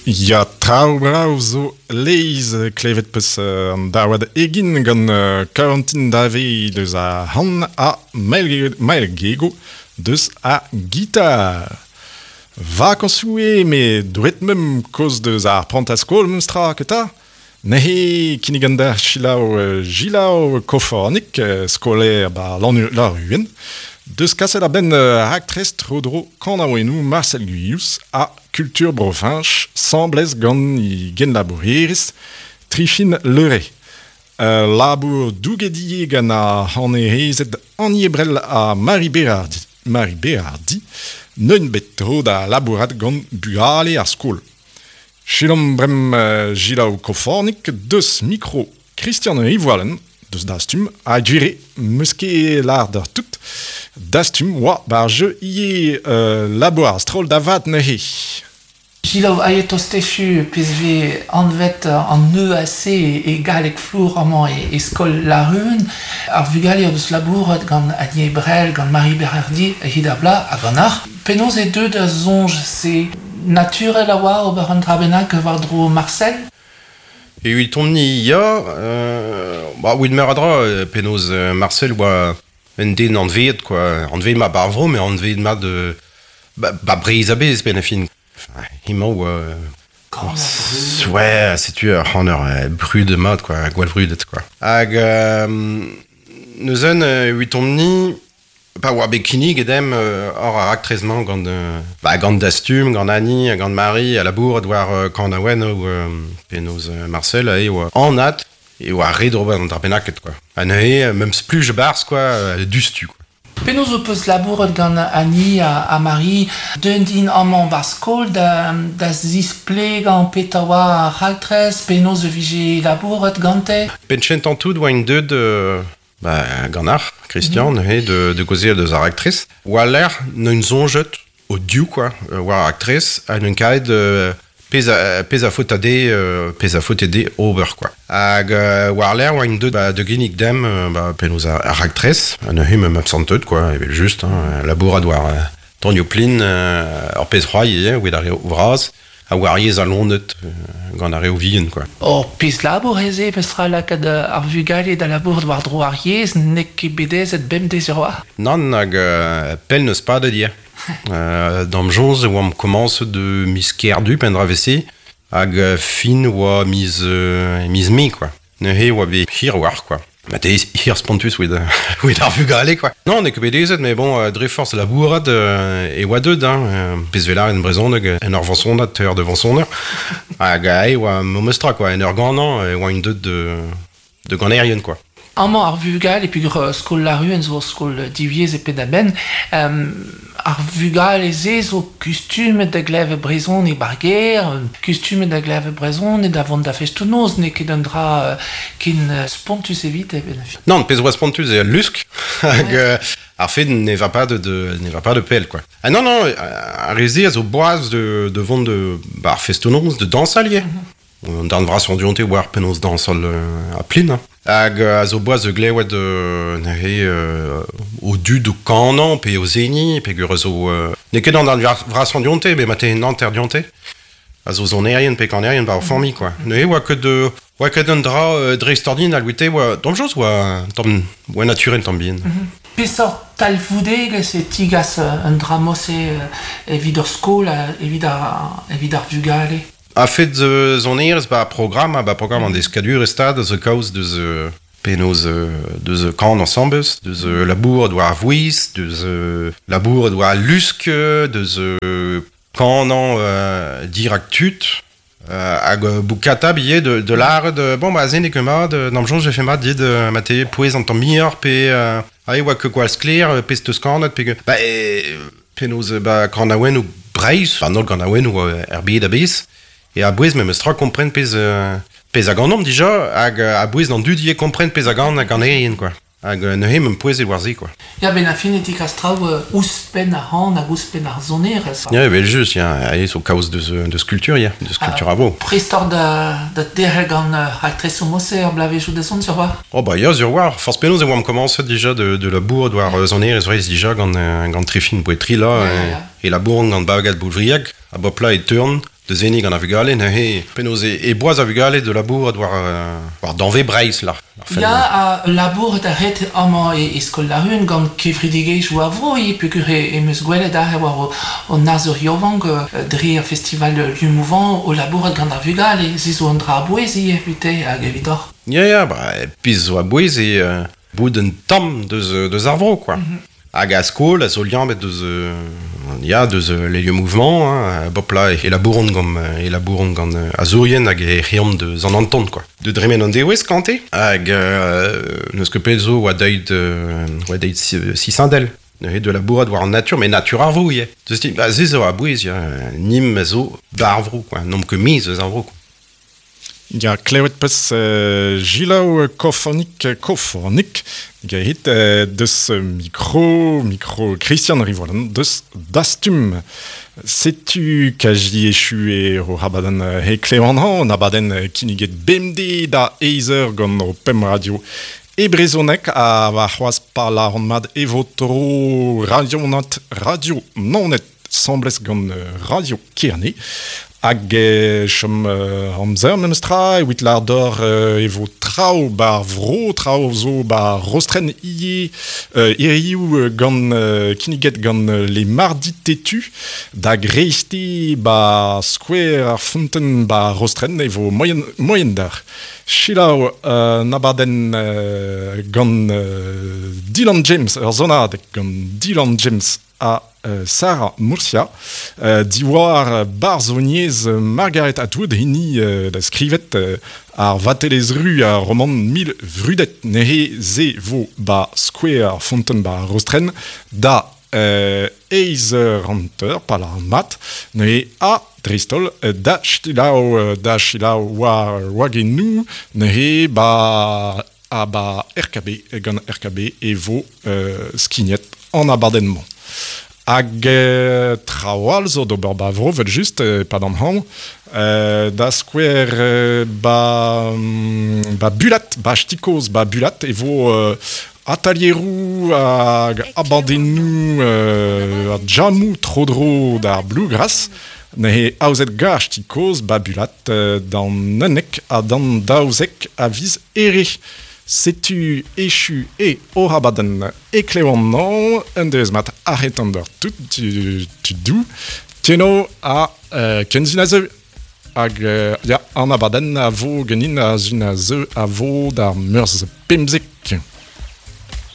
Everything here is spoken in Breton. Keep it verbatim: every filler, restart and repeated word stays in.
Ya traoù brav zo leiz klevet peus an daouad egin gant Karantin Dave deus a han ha Mael Gego deus a gitar. Vakansoù eo me drouet mem koz deus ar prantaskol memes tra keta. Nehe kinnigan d'ar Chilaou Gilaou Kofornik, skolaer ba Lanruen, deus kaset a-benn raktres tro-dro kanaouennoù Marcel Guyous ha Kultur Bro-Fañch semblez gant i genlabourerez Trifin Leray. Uh, labour dougedie gant a hanerezed Annie Ebrel ha Marie Berardi, Marie Berardi neun bet tro da labourat gant bugale ar skol. Chilom brem uh, Gilaou Kofornik deus mikro Christian Rivoalen deus dastum a gwire meus ket lar d'ar tout dastum oa bar jeu ie euh, labour ar stroll da vat neuze. Gilaou aet ostechu pez ve anvet an E A C e galleg flour amañ e, e skol Laruen ar vugale deus labourat gant Annie Ebrel, gant Marie Berardi e hid ar bla hag an ar. Penaos e deu da soñj se naturel a oa ober an dra bennak war dro Marcel? E ui tomni ya, euh, ba ouid meur a dra, penaos Marcel oa un den anveet, quoi. Anveet ma barvro, mais anveet ma de... Ba, ba breiz a bez, ben a fin. Enfin, hemañ oa... Oh, ouais, setu ur c'hanner brud mat, quoi, gwall brudet, quoi. Hag euh, neuzen ui tomni... Pa oa bet kinnig edem euh, hor ar raktrez-mañ gant, euh, ba, gant Dastum, gant Annie, gant Marie, a labour war euh, kanaouen ou euh, penaos euh, Marcel e oa anat e oa red ober an dra bennaket, quoi. Ha neuze, memes spluj barz, quoi, euh, dustu, quoi. Penaos o peus labouret gant Annie ha, ha Marie, d'un din amañ bar skol da, da zisplegañ petra oa ar raktrez, penaos e vije labouret gante? Penchent an tout oa int deud... Euh... Ba, gant ar, Christian, mm -hmm. neuze, de, de gaozeal deus ar raktres. Oa l'air n'eun soñjet o div, quoi, war ar raktres, ha n'eun kaet euh, pez a, pez a faot a de, euh, pez a faot de ober, quoi. Hag euh, war l'air oa int deud ba, de ginnig dem, euh, ba, penaos ar, ar raktres, ha neuze meum absanteut, quoi, evel just, hein, labourat war euh, tonio plin, euh, ur pez c'hoari ivez, oa ar re vras, a war yez a lonet euh, gant ar re vihan, quoi. Ur pezh labour eze, petra lakaat ar vugale da labour war dro ar yez, n'eo ket bedezet bemdez ur oa? Nann hag euh, pell n'eus pas da dir. euh, D'am joñs e oamp komañset de miz Kerdu pen dra vese, hag fin oa miz, euh, miz Mae, quoi. Neuze oa bet hir war, quoi. Ba te hir spontus oa oa ar vugale, quoi. Non, n'eo ket bedezet, mais bon, euh, dre force labourat euh, e oa deud, hein, euh, pezh velar en brezhoneg, en ur vañsonad, teur de vañsoner. Hag ae oa momestra, quoi, en ur ganañ, e oa un deud de, de ganerien, quoi. Amañ ar vugale, e peogwir skol Laruen zo skol divyezh e penn-da-benn, euh, ar vugale ze zo kustumet da glevet brezhoneg bar gêr, kustumet da glevet brezhoneg da vont da festoù-noz, n'eo ket un dra euh, ken spontus evit e ben. Non, pezh oa spontus eo lusk, hag euh, ar fed ne va pas de, de, ne va pas de pell, quoi. Ah non, non, ar re ze a zo boaz de, de vont de ba, ar festoù-noz, de dañsal ivez. Mm-hmm. An darn vras an dionte war penaos dañsal euh, a plin, hein. Hag euh, a zo boaz de glewet euh, neuze euh, o dud o kanañ pe o zeni, pe gur a zo... Euh, n'eo ket an darn vras an dionte, met ma te nanter dionte. A zo zonerien pe kanerien ba o familh, quoi. Neuze oa ket de... Oa ket un dra euh, dreistordinal ouite oa... D'am joz oa... Tamm, oa naturel tamm bihan. Mm-hmm. Peseurt talvoudegezh e tigas un dra mose euh, evit ur skol, evit ar, evit ar vugale? A fet uh, zonerez ba programm, ba programm an deskadur e stad, zo kaoz deus uh, penaos uh, deus kan ensembles, deus uh, labour doa ar vouez, deus uh, labour doa ar lusk, deus uh, kanañ uh, dirak tud, uh, hag uh, boukata billet de, de l'art de... Bon, ba ze n'eo ket mat, d'am soñj je fais mat dit uh, ma te pouez an tamm muioc'h pe... Uh, ae oa ket gwall sklaer, pezh teus kanet, pe... Ba, e, penaos ba kanaouennoù Breizh, an holl kanaouennoù er bed a-bezh. E a bouez memes tra kompren pezh, euh, pezh a ganomp dija, hag a bouez d'an dud ivez kompren pezh a gan hag ganerien, quoi. Hag neuze meum pouezet war se, quoi. Ya ben a fin e tikas traoù euh, ouzhpenn ar c'han hag ouzhpenn ar sonerezh. Ya, evel just, ya, ae zo kaoz deus, deus kultur, ya, deus kultur a vo. Prest oc'h da, da derc'hel gant uh, raktresoù mose ar blavezhioù da zont, sur war? Oh ba ya, sur war. Forzh penaos e oamp komañset dija de, de labour war sonerezh Breizh dija gant, gant Trifin Boetri, là, Ya, ya. e, e labour gant Bagad Boulvriag, a bopla e teurn. De zeni gant a vugale, neuze penaos e, e boaz a vugale de labour war, war danve Breizh la. Ya, a labour da ret amañ e, e skol la run gant kevredigezh a vro e peogwir e em eus gwelet aze war o, o nazour yaouank dre ar festival Lieu Mouvant o labourat gant ar vugale, se zo an dra a-bouez ivez evite hag evidoc'h. Ya, ya, ba, pezh zo a-bouez e euh, bout un tamm deus, deus ar vro, quoi. Mm-hmm. Hag a skol, a zo liammet deus, euh, ya, deus euh, les lieux mouvement, hein, bop la, e labouron gant, e labouron gant azourien hag e c'heomp deus an anton, quoi. De dremen an dewez kante, hag euh, neus ket pell zo oa deuet, euh, oa deuet sisindel. Neuze de labourat war an natur, mais natur ar vro, ivez. Deus ti, ba, se zo a-bouez, ya, nim a zo bar vro, quoi, n'omp ket miz eus ar vro, quoi. Ya, klevet peus euh, Gilaou Kofornik, Kofornik, gehit euh, deus micro, micro Christian Rivolan, deus Dastum. Setu kaji echu e ro abadenn he klevan an abadenn kinniget bemde da eizer gant o pem radio e brezonek a va c'hoaz pa la mat e vo tro radio nat radio nonet semblez gant radio Kerne. Hag e chom euh, amzer memestra, evit lardor euh, e vo traoù bar vro, traoù zo bar rostren ie euh, iriou gant euh, kinniget gant les mardi têtu da greiste ba square ar fonten ba rostren e vo moyen, moyen d'ar. Chilaou euh, nabaden euh, gant euh, Dylan James, ur zonadeg gant Dylan James a euh, Sarah Murcia, euh, diwar barzhoniezh Margaret Atwood hini euh, da skrivet euh, ar vatelezru ar roman mil vrudet nehe ze vo ba Square Fonten ba Rostren da euh, eiz ranter pa la mat nehe a Dristol da chilaou da chilaou war wagenou nehe ba a ba R K B gant R K B e vo euh, skignet an abadenn-mañ. Hag euh, traoù zo d'ober ba vro, vel just, euh, pa d'an hañv, euh, da skouer euh, ba, ba bulat, ba stikoz ba bulat, e vo euh, atelieroù hag abadennoù euh, a jamou tro-dro d'ar bluegrass, nehe aozet gar stikoz ba bulat euh, d'an unnek ha d'an daouzek a viz ere. Setu echu e o abadenn e klevan nan, un deus mat arretan d'ur tout tu, tu dou, teno a euh, kenzin a zeu. Hag euh, ya, an abadenn a vo genin a zun a zeu a vo d'ar meurzh pemzek